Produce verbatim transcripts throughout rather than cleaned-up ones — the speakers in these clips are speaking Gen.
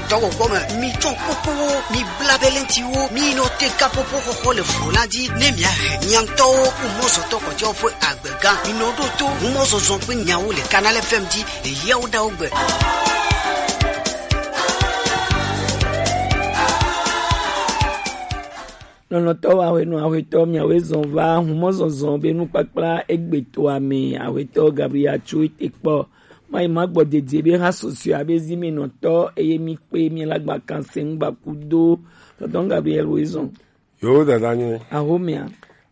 Tɔwɔgbɔ me, mi tsɔ kpokpowo, mi bla belentiwo, mi nɔ te kapopo xɔxɔ le flo la dzi, ne mia hɛ miantɔwo ku mɔzɔtɔ kɔtɛwo ƒe agbega. Mi nɔ ɖo to humɔzɔzɔ ƒe nyawo le Canal F M dzi le yawo ɖawo gbe. Nɔnɔtɔwo, aƒenɔ, aƒetɔ, miawoe zɔn va humɔzɔzɔ be nukpakpla egbetoa me. Aƒetɔ Gabriel tso ete kpɔ. Mayi magbɔ dedie be ha susue abe zi me nɔtɔ, eye mi kpe mi la gba kan se ŋgba kudo. Tɔtɔ Gabriel wo zɔn. Yo, dada nye. Ahomia.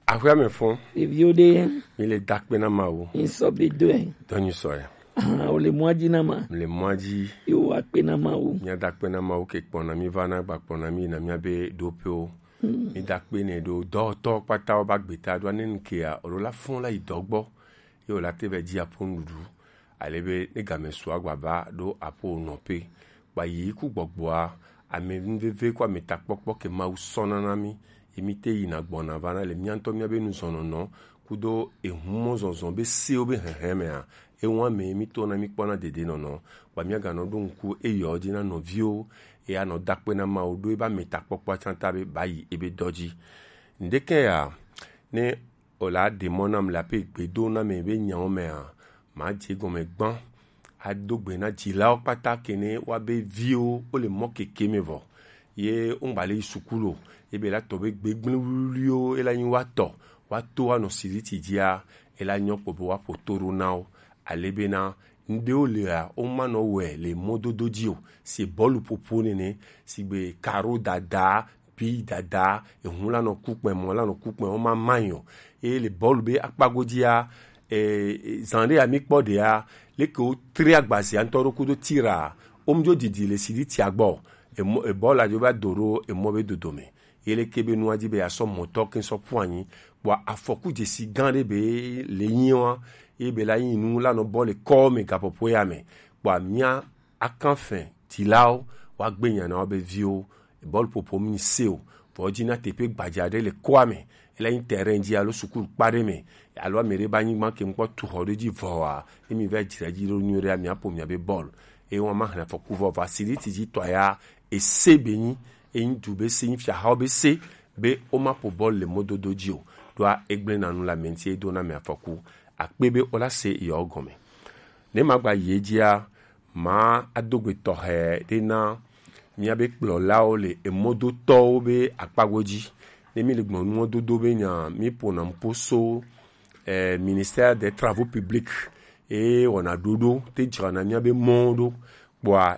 Aƒea me fɔ. Ɖeviwo ɖe. Mi le dakpe na Mawu. Mi sɔ be doe. Dɔnyi sɔ ya. Ah, o le mɔa dzi na ma. Le mɔa dzi. Yo, akpe na Mawu. Mia dakpe na Mawu ke kpɔna mi va na gba kpɔna mi na mia be ɖoƒewo. Hmm. Mi dakpe ne ɖo dɔwɔtɔ kpata wo ba gbeta ɖo ane nkea o la fɔn la yi dɔgbɔ. Ye o la te vɛ dzi aƒo nuɖuɖu. Ale be ne game su agbava ɖo aƒo nɔƒe. Kpa yi ku gbɔgbɔa, ame nuveve ko ame takpɔkpɔ ke Mawu sɔna na mi, ye mi te yina gbɔna va na le mia ŋutɔ mia be nuzɔnɔnɔ kudo ehumɔzɔzɔ be sewo be hehe mea, ewa me mi to na mi kpɔna dede nɔnɔ. Kpa mia ganɔ ɖo ŋku eyɔ dzi na nɔviwo, eya nɔ dakpe na Mawu ɖo eba ame takpɔkpɔ tsanta be ba yi ebe dɔ dzi. Ŋdeke ya, ne o la ɖe mɔ nam le aƒe gbedo na me be nyawo mea, ma dze gɔme gbã. Ado gbe na dzilawo kpata kene wa be viwo wo le mɔ keke me vɔ. Ye wo ŋgba le yi sukulu o. Ye be la tɔ be gbegblẽ wuliwuliwo e la nyi wa tɔ. Wa to wa nɔ siriti dzia, e la nyɔ kpɔ be wa ƒo to ɖo na wo. Ale bena, ŋɖewo lea, wo ma nɔ wɔe le mɔdodo dzi o. Si bɔlu ƒoƒo nene, sigbe karo dada, pi dada, ehu la nɔ ku kpɛ, mɔ la nɔ ku kpɛ, wo ma ma yi o. Eye le bɔlu be akpa godzia, e, e, zan ɖe ya mi kpɔ ɖea, leke wo tre agbazia ŋutɔ ɖo kudo tira, wo mu dzo didi le siritia gbɔ. Emɔ, ebɔla dzo va do ɖo emɔ be dodome. Ye leke be nua dzi be ya sɔ mɔtɔ ke sɔ ƒu anyi. Kpɔ afɔku dzesi gã ɖe be le nyi wa, ye be la nyi nu la nɔ bɔ le kɔ me gaƒoƒo ya me. Kpɔ mia akanfɛ tilawo, wa gbe nya na wo be viwo, bɔlu ƒoƒo mi se o. Vɔ dzi na teƒe gbadza ɖe le kɔa me. Ele nyi terrain dzi alo sukulu kpa ɖe me. Alo ame ɖe ba nyigba ke ŋkpɔ tu xɔ ɖe dzi vɔa. Ne mi va dzra dzi ɖo nyuie ɖe, mia ƒo mia be bɔlu. Eye wa ma hlẽ afɔku vɔ va siriti dzi tɔ ya, ese be nyi, enyi du be se, nyi fiahawo be se, be wo ma ƒo bɔlu le mɔdodo dzi o. Ɖoa egblẽ na nu le ame ŋuti edo na ame afɔku. Akpe be wo la se yewo gɔme. Ne ma gba yi edzia, ma ado gbe tɔxɛ ɖe na mia be kplɔlawo le emɔdotɔwo be akpa godzi. Ne mi le gbɔ nu mɔdodo be nya, mi ƒona ŋpo so, eh, Ministère des Travaux Publics, eye wɔna ɖoɖo te dzra na mia be mɔwo ɖo. Kpɔa